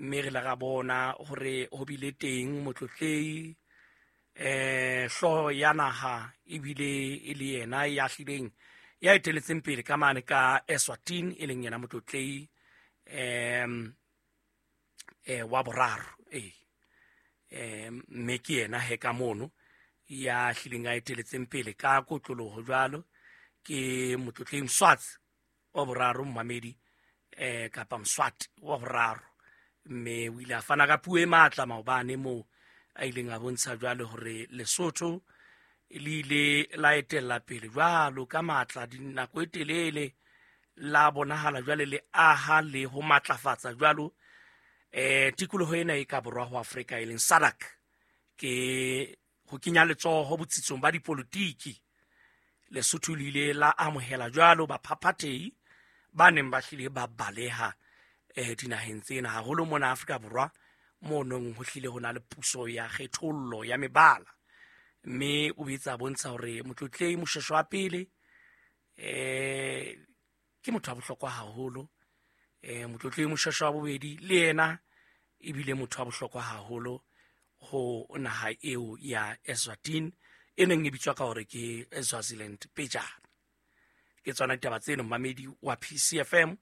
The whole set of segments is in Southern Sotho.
Mme re la ra bona hore ho bile teng motlotlei hlooho ya naha, ebile e le yena ya hlileng ya eteletseng pele ka mane ka Eswatini, e leng yena motlotlei wa boraro. Mme ke yena he ka mono ya hlileng a eteletseng pele ka kotloloho jwalo, ke motlotlei Mswatsi wa boraro, mmamedi, kapa Mswati wa boraro. Mme o ile a fana ka puo e matla maobane moo a ileng a bontsha jwale hore Lesotho le ile la etella pele jwalo ka matla dinako e telele, la bonahala jwale le aha le ho matlafatsa jwalo tikoloho ena e ka borwa ho Afrika, e leng SADC, ke ho kenya letsoho botsitsong ba dipolotiki. Lesotho le ile la amohela jwalo baphaphathehi ba neng ba hlile ba baleha dinaheng tsena, haholo mona Afrika Borwa mo nong ho hlile ho na le puso ya kgethollo ya mebala. Mme o boetse a bontsha hore motlotlei Moshweshwe wa pele ke motho wa bohlokwa haholo, motlotlei Moshweshwe wa bobedi le yena ebile motho wa bohlokwa haholo ho naha eo ya Eswatini, e neng e bitswa ka hore ke Swaziland pejana. Ke tsona ditaba tseno, mmamedi wa PCFM,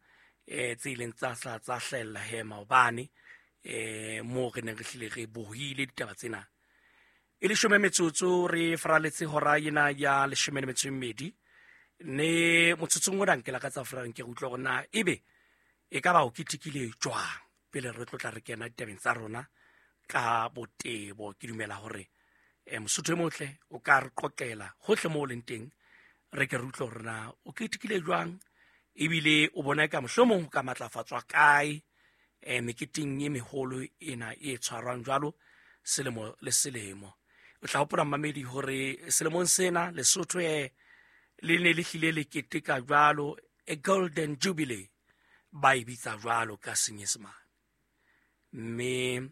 tse ileng tsa tsa hlahella he maobane, moo re neng re hlile re bohile ditaba tsena. E leshome metsotso re faraletse hora ena ya 12 ne motsotsong ona nke lakatsa fela nke re utlwe hore na ebe e ka ba o ketekile jwang pele re tlotla re kena ditabeng tsa rona ka botebo. Ke dumela hore Mosotho e motle o ka re qoqela hohle moo o leng teng, re ke re utlwe hore na o ketekile jwang, ebile o bona ka mohlomong ho ka matlafatswa kae meketeng e meholo ena e tshwarwang jwalo selemo le selemo. O tla hopola, mmamedi, hore selemong sena Lesotho le ne le hlile le keteka jwalo a golden jubilee, ba e bitsa jwalo ka Senyesemane. Mme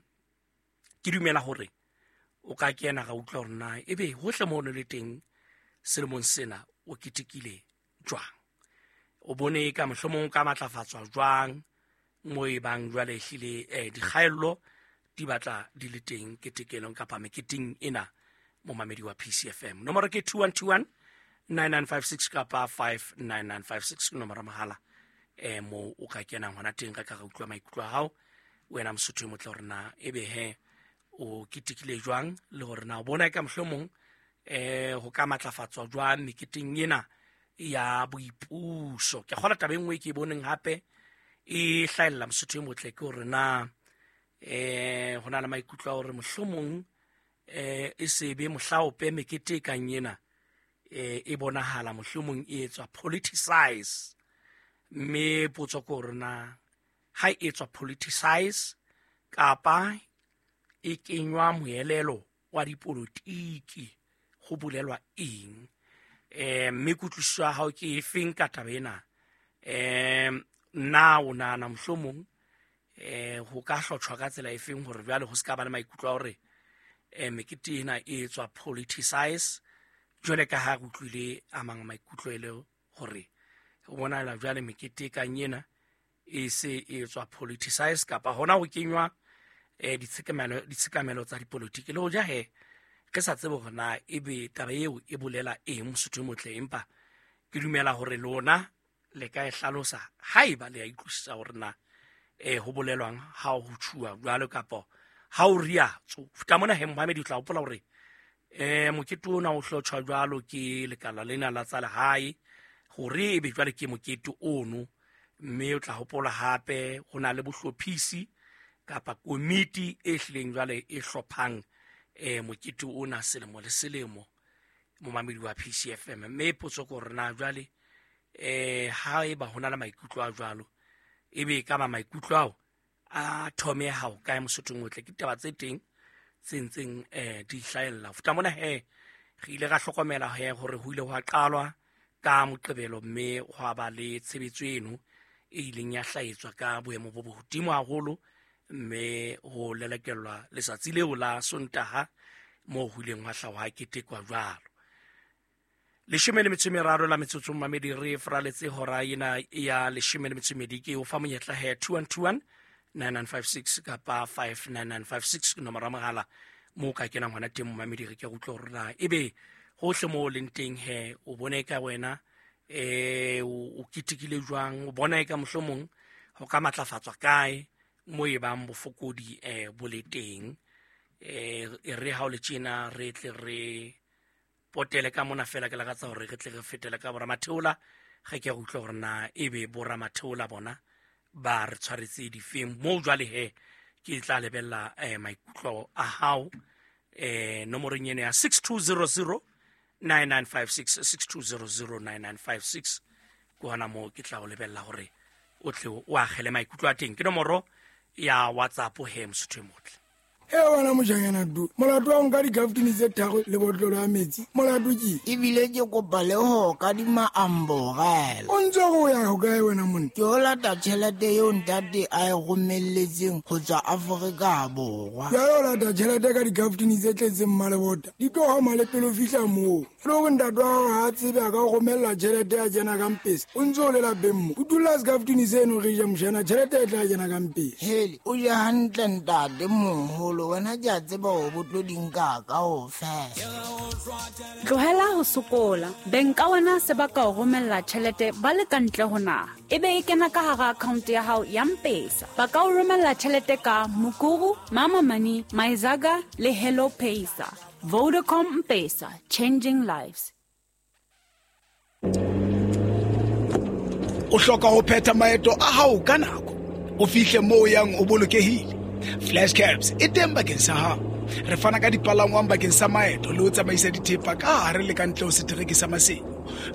ke dumela hore o ka kena ra utlwa hore na ebe hohle moo o le teng selemong sena o ketekile jwang, o bone ka mohlomong o ka matlafatswa jwang mo e bang jwale ehlile dikgaello di batla di le teng ketekelong kapa meketeng ena. Momamedi wa PCFM, nomoro ke 2121 9956 kapa 59956, ke nomoro mohala mo o ka kenang hona teng, re ka re utlwa maikutlo a hao wena Mosotho e motle, hore na ebe he o ketekile jwang, le hore na o bona ka mohlomong ho ka matlafatswa jwang meketeng ena ya boipuso. Ke kgola taba e nngwe ke e boneng hape e hlahella, Mosotho e motle, ke hore na ho na le maikutlo a hore mohlomong e sebe mohlaope mekete e kang ena e bonahala mohlomong e etswa politicize. Mme potso ke hore na ha e etswa politicize kapa e kenywa moelelo wa dipolotiki ho bolelwa eng? Mme kutlwisiso ya hao ke efeng ka taba ena? Nna o nahana mohlomong ho ka hlotjhwa ka tsela efeng hore jwale ho se ka ba le maikutlo a hore mekete ena e etswa politicize, jwale ka ha re utlwile a mang maikutlo e le hore ho bonahala jwale mekete e kang ena e se e etswa politicize kapa hona ho kenywa ditshekamelo tsa dipolotiki, le hoja he re sa tsebe hore na ebe taba eo e bolela eng, Mosotho e motle. Empa ke dumela hore lona le ka e hlalosa haeba le ya utlwisisa hore na ho bolelwang ha ho tjhuwa jwalo kapa ha o riatso futa mona. He mohamedi, o tla hopola hore mokete ona o hlotjhwa jwalo ke lekala lena la tsa lehae hore ebe jwale ke mokete ono. Mme o tla hopola hape ho na le bohlophisi kapa komiti e hlileng jwale e hlophang mokete ona selemo le selemo, momamedi wa PCFM. Mme potso ke hore na jwale ha eba ho na le maikutlo a jwalo, ebe e ka ba maikutlo ao a thomeha ho kae, Mosothong otle? Ke ditaba tse teng tse ntseng di hlahella futa mona. He re ile ra hlokomela he hore ho ile hwa qalwa ka Moqebelo, mme hwa ba le tshebetso eno e ileng ya hlahetswa ka boemo bo bohodimo haholo, mme ho lelekellwa letsatsi leo la Sontaha moo ho ileng hwa hlaha hwa ketekwa jwalo. 13 la metsotso, mamedi, re faraletse hora ena ya 12. Ke o fa monyetla he 2121 9956 kapa 59956 ke nomoro ya mogala mo o ka kenang gona teng momamedi. Re ke go utlwa gore na ebe gotlhe mo o leng teng he o bone ka wena o ketekile jwang, o bona e ka mohlomong go ka matlafatswa kae mo e bang bofokodi bo le teng. E re ha o le tjena re tle re potele ka mona fela, ke lakatsa gore re tle re fetele ka boramatheola ge ke go utlwa gore na ebe boramatheola bona ba re tshwaretse difeng mo. Jwale he ke tla lebella maikutlo a hao nomorong eno ya 6200 9956, 6200 9956 ke hona moo ke tla o lebella gore o tle o agele maikutlo a teng. Ke nomoro ya WhatsApp he, mosotho e motle. E wena mojanyana du, molato wa nka dikaftini tse tharo le botlolo ya metsi, molato ke Ebile ke kopa le ho kadima amborela. O ntse go ya ho kae wena monna? Ke o lata tjhelete eo ntate a e romelletseng ho tswa Afrika Borwa. Jalo o lata tjhelete ka dikaftini tse tletseng mmalebota, di tlo gama le pele o fitlha moo. E le gore ntate wa gago ga a tsebe a ka go romella tjhelete ya kena ka mpese, o ntse o le lapeng mo o dula sekaftini seno re ja mošana, tjhelete e tla kena ka mpese. Hele, o je hantle ntate moholo, wena ke a tseba hore bo tlo di nka kaofela. Tlohela ho sokola. Beng ka wena se ba ka o romella tjhelete ba le ka ntle ho naha, ebe e kena ka hara account ya hao ya Mpesa. Ba ka o romella tjhelete ka Mukuru, Mama Money, Myzaga le Hello Paysa. Vodacom Mpesa, changing lives. O hloka ho phetha maeto a hao ka nako, o fihle moo o yang o bolokehile. Flash Cabs e teng bakeng sa hao. Re fana ka dipalangwang bakeng sa maeto le ho tsamaisa dithepa ka hare le ka ntle ho setereke sa Maseru,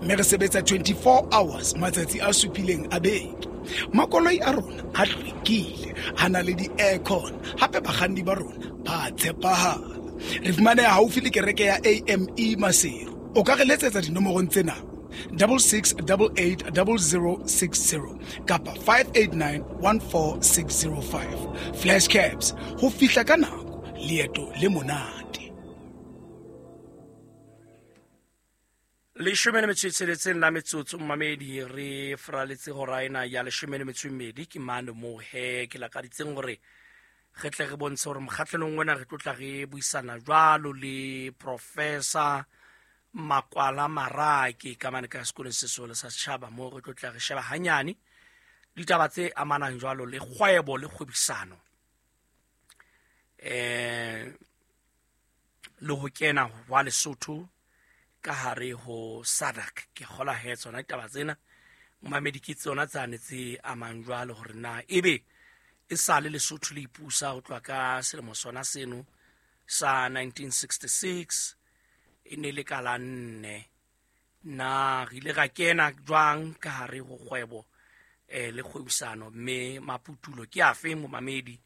mme re sebetsa 24 hours matsatsi a supileng a beke. Makoloi a rona a hlwekile, a na le di-aircon, hape bakganni ba rona ba tshepahala. Re fumaneha haufi le kereke ya AME Maseru. O ka re letsetsa dinomorong tsena: 66880060 kapa 58914605. Flash Cabs, ho fihla ka nako, leeto le monate. 16 la metsotso mmamedi, re fraletse hora ena ya 12. Ke mane moo he ke lakaditseng gore re tle re bontshe gore mokgatlhelong wena re tlotla re buisana jwalo le Professor Makwala Marake ka mane ka sekolong sesole sa setjhaba, moo re tlotla re sheba hanyane ditaba tse amanang jwalo le kgwebo le kgwebisano le ho kena wa Lesotho ka hare ho SADC. Ke kgola he tsona ditaba tsena momamedi ke tsona tsane tse amang jwalo hore na ebe e sale Lesotho le ipusa ho tloha ka selemo sona seno sa 1966, e ne le ka la 4, na re ile ra kena jwang ka hare ho kgwebo le kgwebisano, mme maputulo ke afe momamedi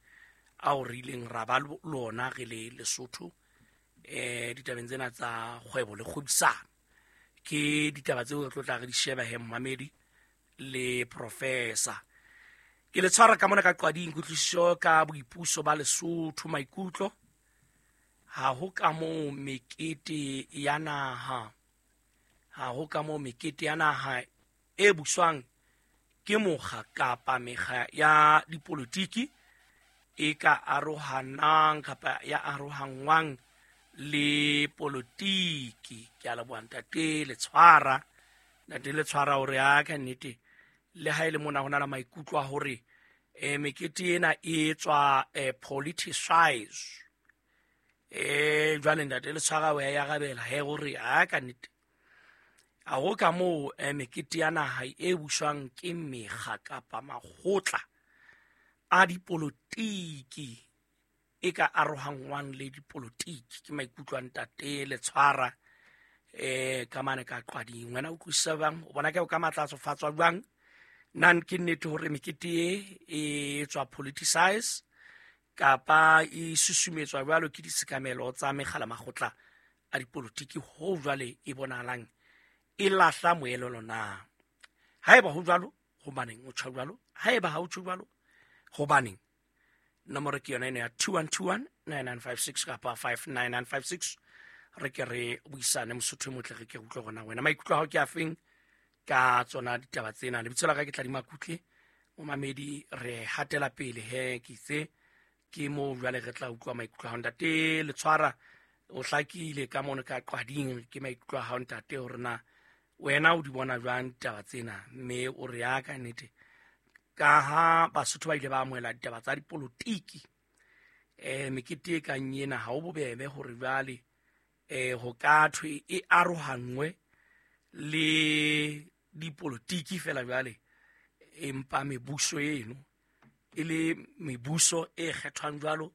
ao re ileng ra ba lona re le Lesotho ditabeng tsena tsa kgwebo le kgwebisano. Ke ditaba tseo re tlo tla re di sheba he momamedi le professor. Ke le tshwara ka mona ka qwading kutlwisiso ka boipuso ba Lesotho, maikutlo ha ho ka moo mekete ya naha, ha ho ka moo mekete ya naha e buswang ke mokga kapa mekga ya dipolotiki e ka arohanang kapa ya arohangwang le polotiki. Ke a leboha ntate le tshwara, ntate le tshwara hore a ka nnete le ha e le mona ho na le maikutlo a hore mekete ena e tswa politicize. Jwale ntate le tshwara o ya arabela he hore a ka nnete a ho ka moo mekete ya naha e buswang ke mekga kapa makgotla a dipolotiki e ka arohangwang le dipolotiki. Ke maikutlo a ntate le tshwara ka mane ka qwading. Wena o utlwisisa bang, o bona ke o ka matlafatsofatswa jwang? Nan ke nnete hore mekete e tswa politicize kapa e susumetswa jwalo ke ditshekamelo tsa mekgala makgotla a dipolotiki ho jwale e bonahalang e lahla moelelo na? Haeba ho jwalo, hobaneng o tjho jwalo? Haeba ha o tjho jwalo, hobaneng? Nomoro ke yona ena ya 2121 9956 kapa 59956. Re ke re buisane mosotho e motle, re ke utlwe gona wena maikutlo a hao ke afeng ka tsona ditaba tsena. Lebitso la ka ke Tladi Makutle, Momamedi, re hatela pele he, ke itse ke mo jwale re tla utlwa maikutlo a hao. Ntate Letshwara, o hlakile ka mono ka qwading, ke maikutlo a hao ntate hore na wena o di bona jwang ditaba tsena, mme o re ya ka nnete ka ha Basotho ba ile ba amohela ditaba tsa dipolotiki, mekete e kang ena ha o bobebe hore jwale ho ka thwe e arohanngwe le dipolotiki fela jwale, empa mebuso eno e le mebuso e kgethwang jwalo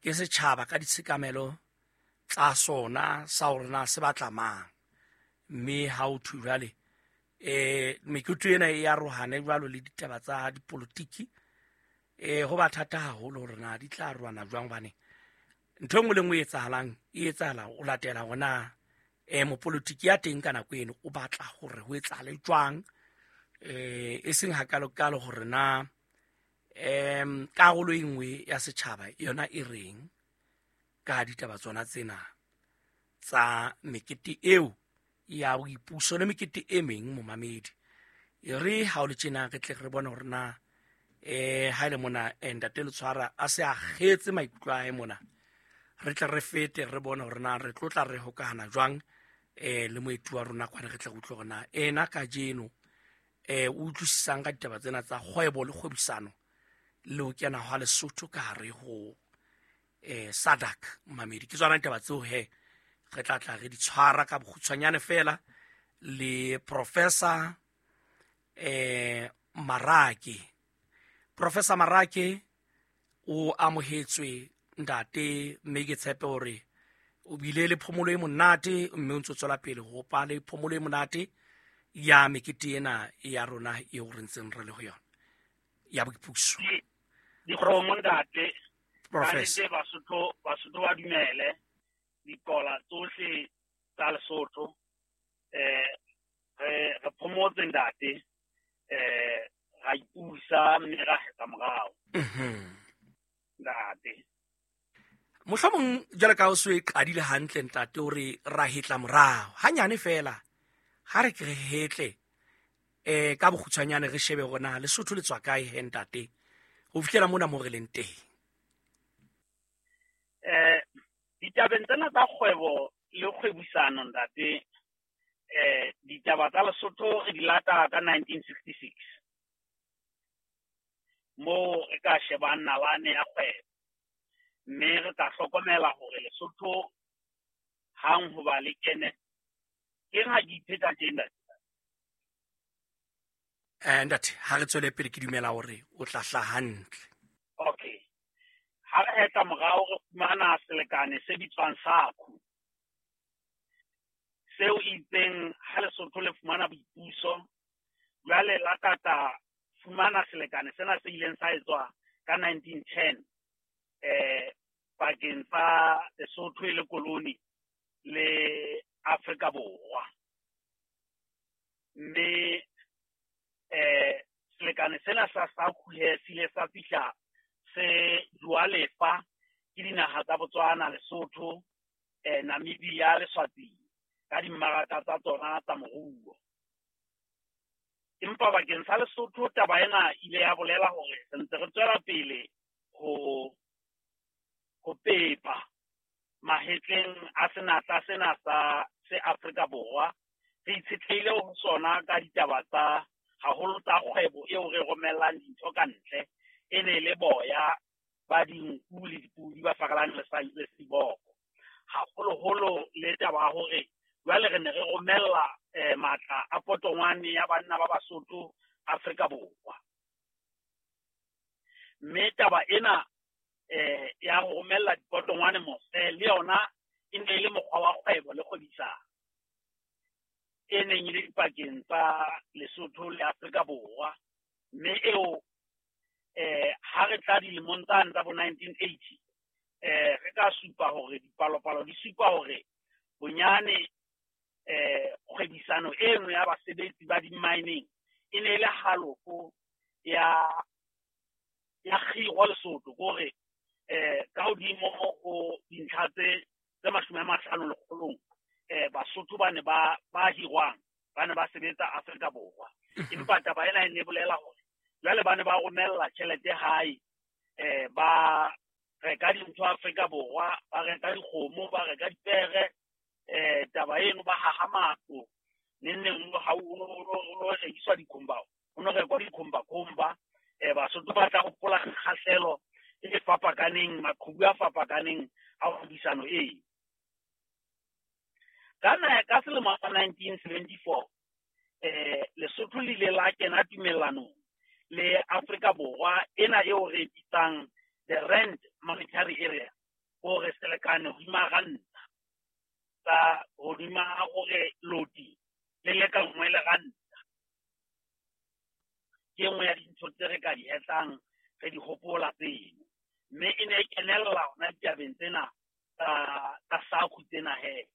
ke setjhaba ka ditshekamelo tsa sona sa hore na se batla mang. Mme ha o thwe jwale mekete ena e arohane jwalo le ditaba tsa dipolotiki, ho ba thata haholo hore na di tla arohana jwang, hobane ntho e nngwe le nngwe e etsahalang e etsahala o latela hore na mopolotiki ya teng ka nako eno o batla hore ho etsahale jwang, e seng hakalokalo hore na karolo e nngwe ya setjhaba yona e reng ka ditaba tsona tsena tsa mekete eo ya boipuso le mekete e meng. Momamedi, e re ha o le tjena re tle re bone hore na ha ile mona ntate Letshwara a se a kgetse maikutlo a hae mona, re tle re fete re bone hore na re tlotla re hokahana jwang le moeti wa rona kwana, re tle re utlwe hore na ena kajeno o utlwisisang ka ditaba tsena tsa kgwebo le kgwebisano le ho kena hwa Lesotho ka hare ho SADC. Mamedi, ke tsona ditaba tseo he re tla tla re di tshwara ka bokgutshwanyane fela le Professor Marake. Professor Marake o amohetswe ntate, mme ke tshepe hore o bile le phomolo e monate, mme o ntso tswela pele ho pa le phomolo e monate ya mekete ena ya rona eo re ntseng re le ho yona ya boipuso. Dikgomo ntate, Professor, Basotho ba dumele dikola tsohle tsa Lesotho, re phomotse ntate, ra ipusa mme ra hetla morao. Ntate, mohlomong jwale ka o so e qadile hantle ntate hore ra hetla morao hanyane fela, ha re ke re hetle ka bokgutshwanyane re shebe hore na Lesotho le tswa kae he ntate ho fihlela mona mo re leng teng. Ditabeng tsena tsa kgwebo le kgwebisano ntate, ditaba tsa Lesotho re di lata ka 1966 moo re ka shebang nalane ya kgwebo, mme re tla hlokomela hore Lesotho hang hoba le kene ke ha ke ipheta tje ntate. Ntate, ha re tswele pele ke dumela hore o tla hlaha hantle. Okay. Ha re hetla morao re fumana selekane se bitswang SACU, seo itseng ha Lesotho le fumana boipuso jwale la tata fumana selekane sena se ileng sa etswa ka 1910 pakeng tsa Lesotho e le koloni le Afrika Borwa. Mme selekane sena sa SACU he se ile sa fihla se jwa lefa ke dinaha tsa Botswana, Lesotho, Namibia le Eswatini ka dimmaraka tsa tsona tsa moruo. Empa bakeng sa Lesotho taba ena ile ya bolela hore re ntse re tswela pele ho pepa mahetleng a senatla sena sa se Afrika Borwa, re itshetlehile ho sona ka ditaba tsa haholo tsa kgwebo eo re romellang dintho ka ntle, e ne le boya ba dinku le dipudi ba farelane le seboko, haholoholo le taba ya hore jwale re ne re romella matla a potongwane ya banna ba Basotho Afrika Borwa. Mme taba ena ya ho romella dipotongwane mose le yona e ne le mokgwa wa kgwebo le kgwebisano e neng e le dipakeng tsa Lesotho le Afrika Borwa. Mme eo ha re tla dilemong tsane tsa bo 1980, re ka supa hore dipalopalo di supa hore bonyane kgwebisano eno ya basebetsi ba di-mining e ne e le halofo ya kgiro Lesotho, kore ka hodimo ho dintlha tse 50 lekgolong, Basotho ba ne ba hirwang ba ne ba sebetsa Afrika Borwa. Empa taba ena e ne bolela hore Jwale ba ne ba romella tjhelete hae, ba reka dintho Afrika Borwa, ba reka dikgomo, ba reka dipere, taba eno ba haha matlo. Neng neng ha o no rekiswa dikhomba, o no rekwa dikhomba-khomba. Basotho ba tla hopola kgahlelo e fapakaneng, maqhubu a fapakaneng a kgwebisano eo. Ka selemo sa 1974, Lesotho le ile la kena tumellanong le Afrika Borwa ena eo re bitsang the Rand Monetary Area, hore selekane hodima ranta, tsa hodima hore loti le lekanngwe le ranta. Ke e nngwe ya dintho tse re ka di hetlang, re di hopola tseno. Mme e ne e kenella hona ditabeng tsena tsa SACU tsena he.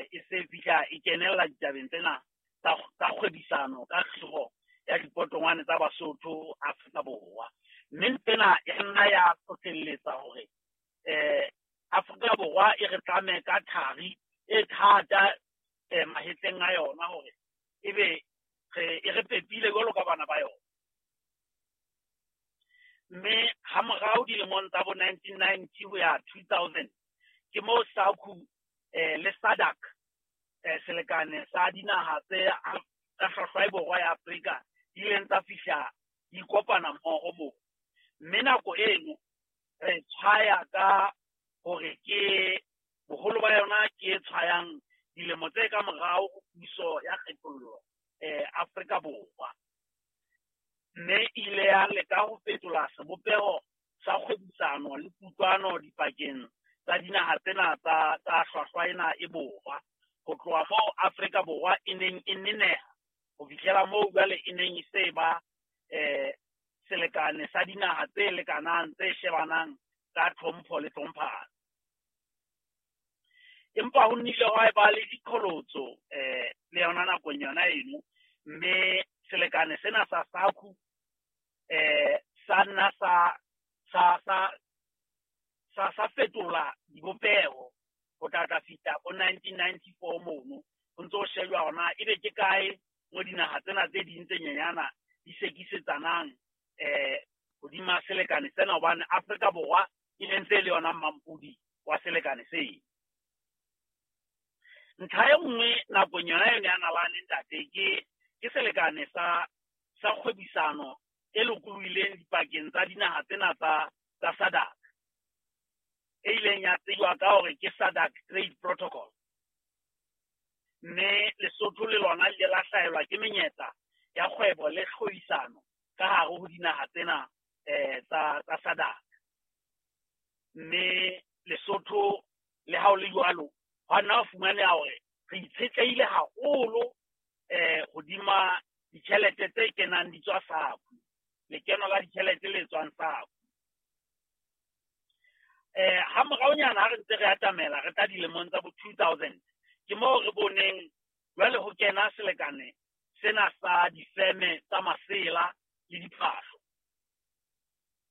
E se fihla e kenella ditabeng tsena tsa kgwebisano ka kgiro ya dipotongwane tsa Basotho Afrika Borwa. Mme tsena ya nna ya hlohlelletsa hore Afrika Borwa e re tlame ka thari e thata mahetleng a yona, hore ebe e re pepile jwalo ka bana ba yona. Mme ha morao dilemong tsa bo 1990 ho ya 2000, ke moo SACU le SADC, selekane sa dinaha tse tsa hlwahlwa borwa ya Afrika, di ileng tsa fihla di kopana mmoho moo. Mme nako eno re tshwaya ka hore ke boholo ba yona ke e tshwayang dilemo tse ka morao ho puso ya kgethollo Afrika Borwa. Mme ile ya leka ho fetola sebopeho sa kgwebisano le kutlwano dipakeng tsa dinaha tsena tsa hlwahlwa ena e borwa, ho tloha moo Afrika Borwa e neng e neneha ho fihlela moo jwale e neng e se ba selekane sa dinaha tse lekanang, tse shebanang ka tlhompho le tlhomphano. Empa ho nnile hwa eba le diqholotso le yona nakong yona eno, mme selekane sena sa SACU sa nna sa fetola dibopeho ho tla fihla bo 1994 mono. Ho ntso ho shejwa hona ebe ke kae mo dinaha tsena tse ding tse nyenyana di sekisetsanang hodima selekane sena, hobane Afrika Borwa e ne ntse e le yona mmampodi wa selekane seo. Ntlha e nngwe nakong yona eno ya nalane ntate, ke selekane sa kgwebisano e lokolohileng dipakeng tsa dinaha tsena tsa SADC, e ileng ya tsejwa ka hore ke SADC Trade Protocol. Mme Lesotho le lona le ile la hlahelwa ke menyetla ya kgwebo le kgwebisano ka hare ho dinaha tsena tsa SADC. Mme Lesotho le ha ho le jwalo, hwa nna ho fumaneha hore re itshetlehile haholo hodima ditjhelete tse kenang di tswa SACU, lekeno la ditjhelete le tswang SACU. Ha moraonyana ha re ntse re atamela re tla dilemong tsa bo 2000, ke moo re boneng jwale ho kena selekane sena sa difeme tsa masela le diphahlo,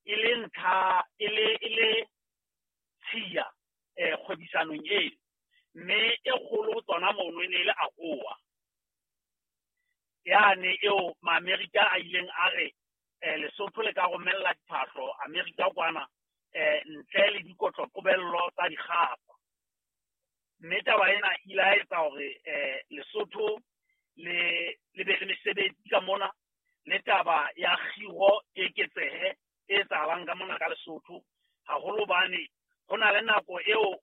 e le ntlha e le tshiya kgwebisanong eno. Mme e kgolo ho tsona mono e ne e le AGOA, yane eo ma-Amerika a ileng a re Lesotho le ka romella diphahlo Amerika kwana ntle le dikotloqobello tsa dikgapa. Mme taba ena e ile ya etsa hore Lesotho le be le mesebetsi ka mona, le taba ya kgiro e eketsehe e etsahalang ka mona ka Lesotho, haholo hobane ho na le nako eo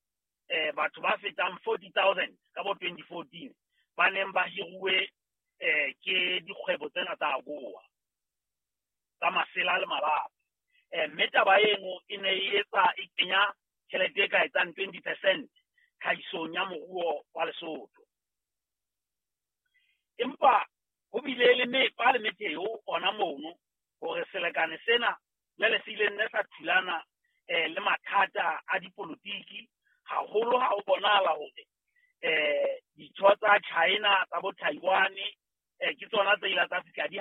batho ba fetang 40,000 ka bo 2014 ba neng ba hiruwe ke dikgwebo tsena tsa AGOA tsa masela le malapa. Mme taba eno e ne e etsa e kenya tjhelete e ka etsang 20% tlhahisong ya moruo wa Lesotho. Empa ho bile le mepa le metheo ona mono hore selekane sena jwale se ile nne sa thulana le mathata a dipolotiki, haholo ha ho bonahala hore ditho tsa China tsa bo Taiwan ke tsona tse ile tsa fihla di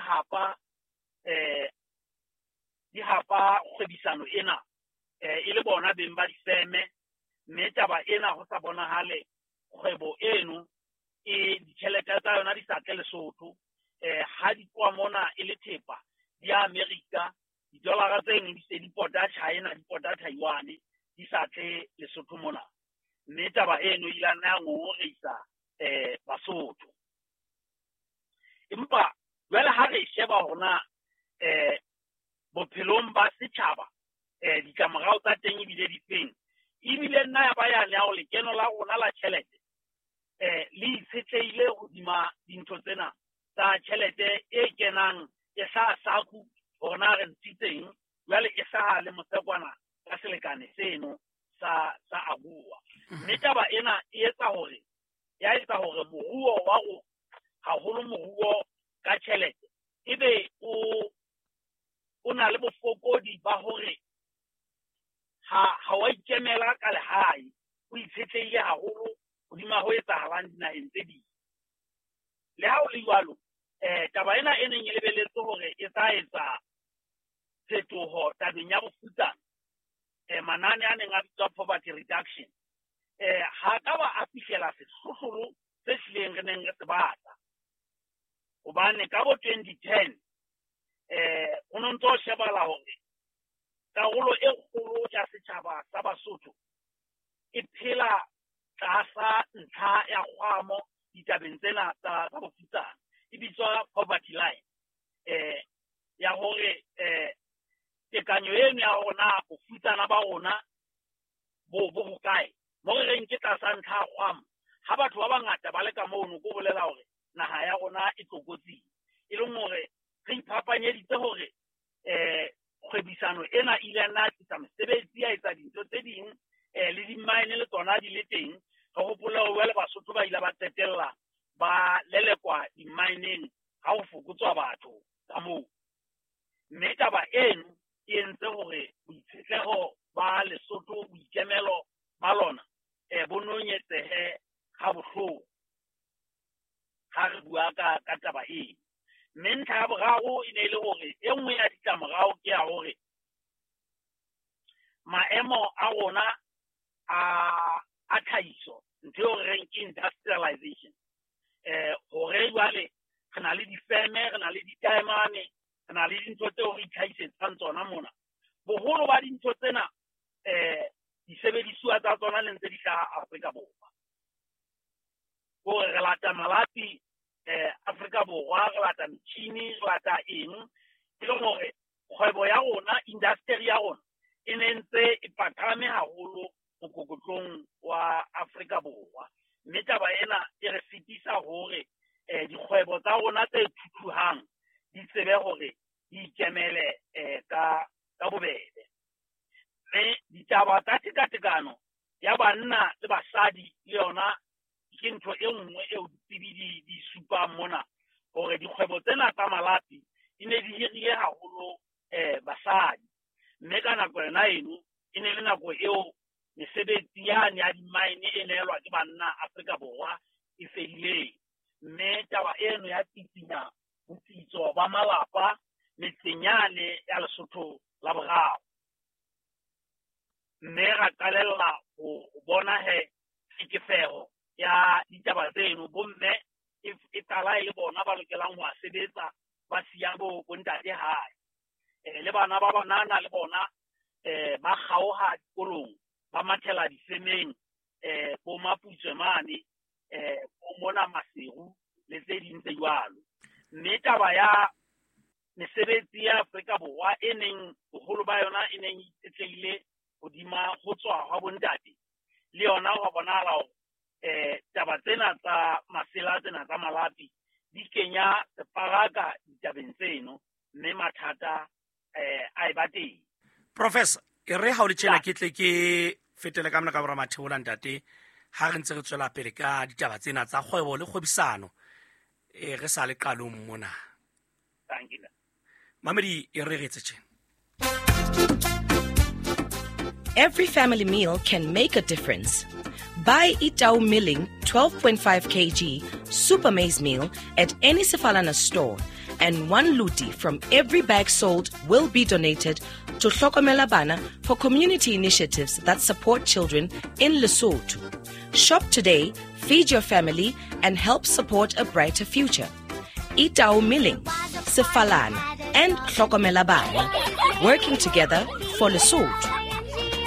hapa kgwebisano ena, e le bona beng ba difeme. Mme taba ena ho sa bonahale kgwebo eno e ditjhelete tsa yona di sa tle Lesotho, ha di tloha mona e le thepa di ya Amerika, didolara tse neng di se di pota China, di pota Taiwan, di sa tle Lesotho mona. Mme taba eno e ile ya ngongoreisa Basotho. Empa jwale ha re sheba hona bophelong ba setjhaba, ditlamorao tsa teng ebile di feng, ebile nna ya ba yane ya hore lekeno la rona la tjhelete le itshetlehile hodima dintho tsena tsa tjhelete e kenang e sa saku hore re ntshitseng, jwale e sa le mosekwana ka selekane seno sa AGOA. Mme taba ena e etsa hore ya etsa hore moruo wa rona, haholo moruo ka tjhelete, ebe o na le bofokodi ba hore ha wa ikemela ka lehae, o itshetlehile haholo hodima ho etsahalang dinaheng tse ding. Le ha ho le jwalo, taba ena e neng e lebelletse hore e tla etsa phetoho tabeng ya bofutsana, manane a neng a bitswa poverty reduction, ha ka ba a fihlela sehlohlolo se hlileng re neng re se batla. Hobane ka bo 2010 ho no ntso shebala hore karolo e kgolo ya setjhaba sa Basotho e phela tlasa ntlha ya kgwamo ditabeng tsena tsa bofutsana, e bitswa poverty line, ya hore tekanyo eno ya rona bofutsana ba rona bo hokae, mo re reng ke tlasa ntlha ya kgwamo. Ha batho ba bangata ba le ka mono, ko bolela hore naha ya rona e tlokotsing, e leng hore re iphapanyeditse hore kgwebisano ena e ile ya nna tlisa mesebetsi, ya etsa dintho tse ding, le di-mine le tsona di le teng. Re hopole hore jwale Basotho ba ile ba qetella ba lelekwa di-mineng ha ho fokotswa batho ka moo. Mme taba eno e entse hore boitshetleho ba Lesotho, boikemelo ba lona, bo nonyetsehe ha bohloko ha re bua ka taba eno. Mme ntlha ya boraro e ne e le hore e nngwe ya ditlamorao ke ya hore maemo a rona a tlhahiso, ntho eo re reng ke industrialization, hore jwale re na le difeme, re na le ditaemane, re na le dintho tseo re itlhahisetsang tsona mona. Boholo ba dintho tsena disebedisuwa tsa tsona le ntse di hlaha Afrika Borwa. Hore re lata malapi Afrika Borwa, re lata metjhini, re lata eng, e leng hore kgwebo ya rona, industry ya rona e ne ntse e paqame haholo mokokotlong wa Afrika Borwa. Mme taba ena e re sitisa hore dikgwebo tsa rona tse thuthuhang di tsebe hore di ikemele ka bobebe. Mme ditaba tsa tekatekano ya banna le basadi le yona ke ntho e nngwe eo ditsebi di supang mona, hore dikgwebo tsena tsa malapi di ne di hirile haholo basadi. Mme ka nako yona eno e ne le nako eo mesebetsi yane ya di-mine e neelwa ke banna Afrika Borwa e fedileng. Mme taba eno ya tsitsinya botsitso ba malapa metseng yane ya Lesotho la boraro. Mme ra qalella ho bona he tlhekefeho ya ditaba tseno, bomme e qala e le bona ba lokelang ho sebetsa, ba siya bo ntate hae. Le bana ba banana le bona ba kgaoha dikolong, ba mathela difemeng, bo Maputswe mane, bo mona Maseru le tse ding tse jwalo. Mme taba ya mesebetsi ya Afrika Borwa e neng boholo ba yona e neng e itshetlehile hodima ho tswa hwa bontate, le yona ho bonahala hore taba tsena tsa masela tsena tsa malapi di kenya separaka ditabeng tseno, mme mathata a e ba teng. Professor, e re ha o le tjena ke tle ke fetele ka mona ka bora Matheola ntate, ha re ntse re tswela pele ka ditaba tsena tsa kgwebo le kgwebisano, re sa le qalong mona. Thank you. Mamedi, e re re etse tjena. Every family meal can make a difference. Buy Itau Milling 12.5 kg Super Maize Meal at any Sefalana store, and one luti from every bag sold will be donated to Hlokomela Bana for community initiatives that support children in Lesotho. Shop today, feed your family, and help support a brighter future. Itau Milling, Sefalana. and Hlokomela Bana, working together for Lesotho.